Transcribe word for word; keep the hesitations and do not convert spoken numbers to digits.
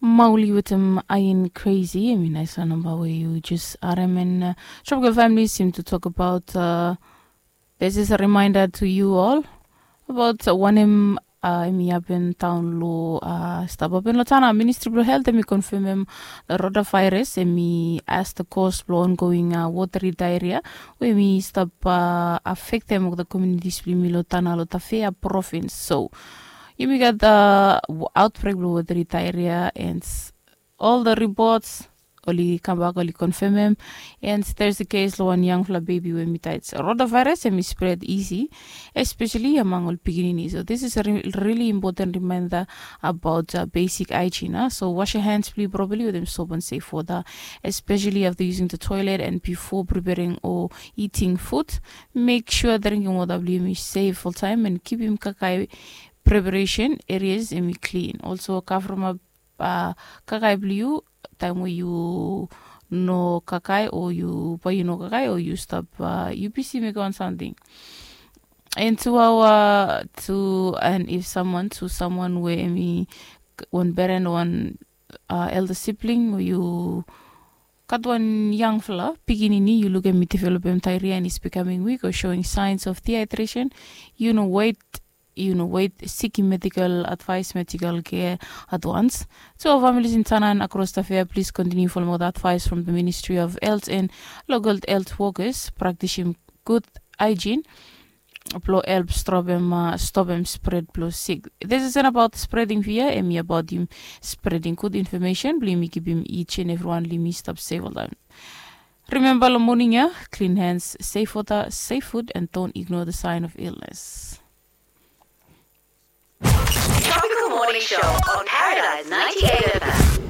Mauli wetem ain kresi em i naisla namba we yu jes harem en tropikal famili sim tu tok abaut. This is a reminder to you all abaut wanem em i hapen daon long stap hapen long tana ministri blong helt em i konfemem rota vairas em i as the kos blong ongoing woteri daeria we em i stap afektem olgeta komunitis blong yumi long tana long tafea provins. So yumi gat autbrek blong woteri daeria and ol the ripots oli kambak oli konfemem. And there's a kes long wan yangfala bebi we mi tait rota vairas em i spred isi, especially among ol pikinini. So this is a really important reminder about besik haijin. So wash your hands blong yu properly wetem soap and safe water, especially after using the toilet and before preparing or eating food. Make sure drinking water blong yumi safe oltaem and kipim kakai preparation areas em i klin. Also kavremap kakai blong yu taem we yu no kakai o yu bae yu no kakai o yu stap yu bisi mekem wan samting. And tu aoa tu and if someone tu someone we em i wan beren o wan elda sibling o yu gat wan yangfala pikinini yu lukim i developem tairia and is becoming weak o showing signs of dehydration, yu no wet yu no wet, sikim medikal advais medikal kea advans. So familis in tanan akros tafea plis kontiniu folem ol advais from the ministri of health and local health workers praktisim gud haijin blong help stopem stopem spred blong sik. This is about spreding via em i abaotim spreding gud infomesen blong yumi kipim each and evriwan blong yumi stap sef oltaem. Rimemba long moning ya, klin hens, sef wota, sef fud and don't ignore the sign of illness. Tropical Morning Show on Paradise ninety-eight.